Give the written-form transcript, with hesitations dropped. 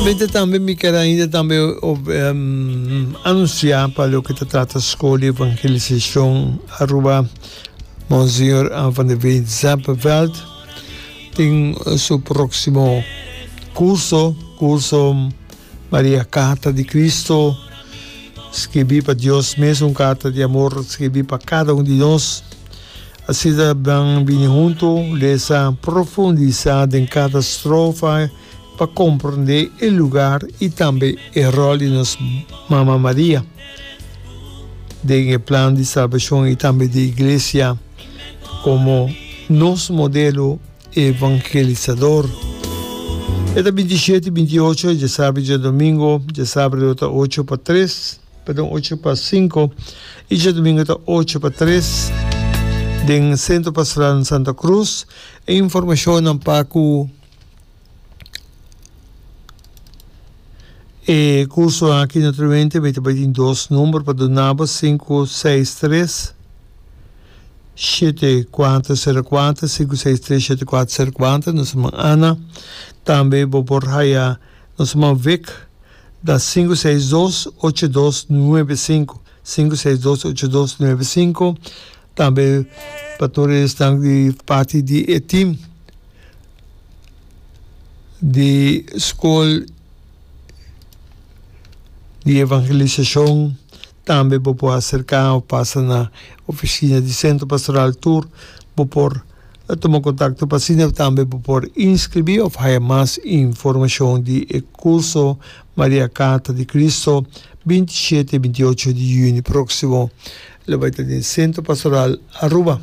Naturalmente tambe mi ker ainda tambe anuncia pa loke ta trata School di Evangelisacion Aruba Monsignor Anne van der Veen Zeppenveld tin su proximo curso, curso Maria Carta di Cristo, skibi pa Dios mes, un carta di amor skibi pa cada un di nos. Asina ban bini huntu, lesa, profundisá den kada strofa pa komprondé e lugar i tambe e ròl di nos Mama Maria den e plan di salbashon i tambe di Iglesia komo nos modelo evangelisador. E ta bintishete i bintiocho, djasabra i djadomingo, djasabra lo ta ocho pa tres. Perdon, ocho pa sinku i djadumingu ta ocho pa tres den Centro Pastoral na Santa Cruz. E informashonnan pa ku e kurso aki naturalmente mi ta bai tin dos number pa duna bo, 563 7404, 563 7404, nos herman Ana. Tambe bo por haya nos herman Vic. Ta 562 8295, 562 8295, tambe pa tur esnan di parti di e team di Skol di Evangelisashon, tambe bo por aserka of pasa na oficina di Centro Pastoral Tur, bo por Tuma kontakto pa asina tambe bo por inskribí òf haya mas informashon di e kurso Maria Carta di Cristo 27 i 28 di yüni próksimo. Lo bai ta den Sentro Pastoral Aruba.